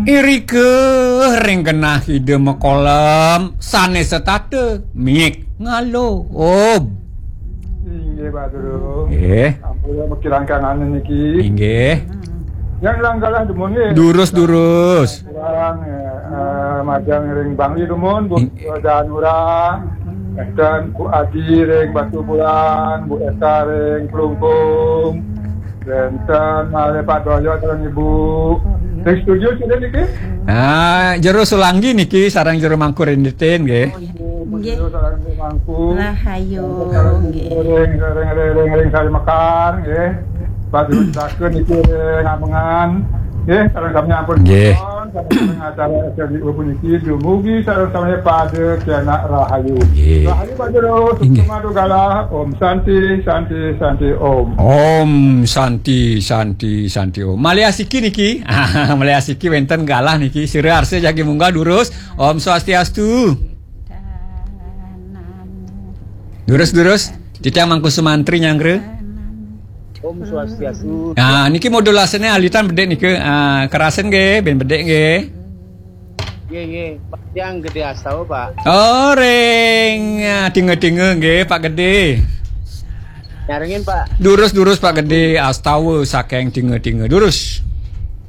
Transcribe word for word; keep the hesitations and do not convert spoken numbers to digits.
Irika ring genah Ida makolem, sané setata, miik ngalo. Om. Inggih, Pak Guru. Nggih. Ampun, makirang kangen niki. Inggih. Yang langgalah dumun nggih. Durus, durus. Kurang, eh, eh, majeng ring Bangli dumun, Bu Ing- Danura, enten Bu Adi ring Batubulan, Bu Esa ring Klungkung, enten malih Pak Doyo sareng Ibu. Ring studio sida niki? Ah, Jero Sulanggi niki sareng Jero Mangku Rinditin nggih. Nggih. Jero sareng Jero Mangku. Rahayu, nggih. Ring, ring, ring, ring, ring Sari Mekar nggih. Pak Jero Saka niki ring Amengan. Nggih, sareng sami ampun. Nggih. Sareng acara S L D U puniki dumugi sareng sami pada kenak rahayu. Nggih. Rahayu Pak Jero, inggih. Suksma Dugala, Om Santi, Santi, Santi, Om. Om Santi, Santi, Santi, Om. Malih asiki niki. Malih asiki wénten galah niki. Sira arsa jagi munggah durus. Om Swastiastu. Durus, durus. Titiang Mangku Sumantri nyanggra. Om Swastiastu. Nah, niki modulasiné alitan bedik nika. Ah, kerasin nggih, ben bedik nggih. Nggih, nggih. Pak, tiang Gedé Astawa, Pak. Oh, ring, ah, Tinga-tinga nggih, Pak Gedé. Nyarengin, Pak. Durus, durus, Pak Gedé, Astawa saking Tinga-tinga. Durus.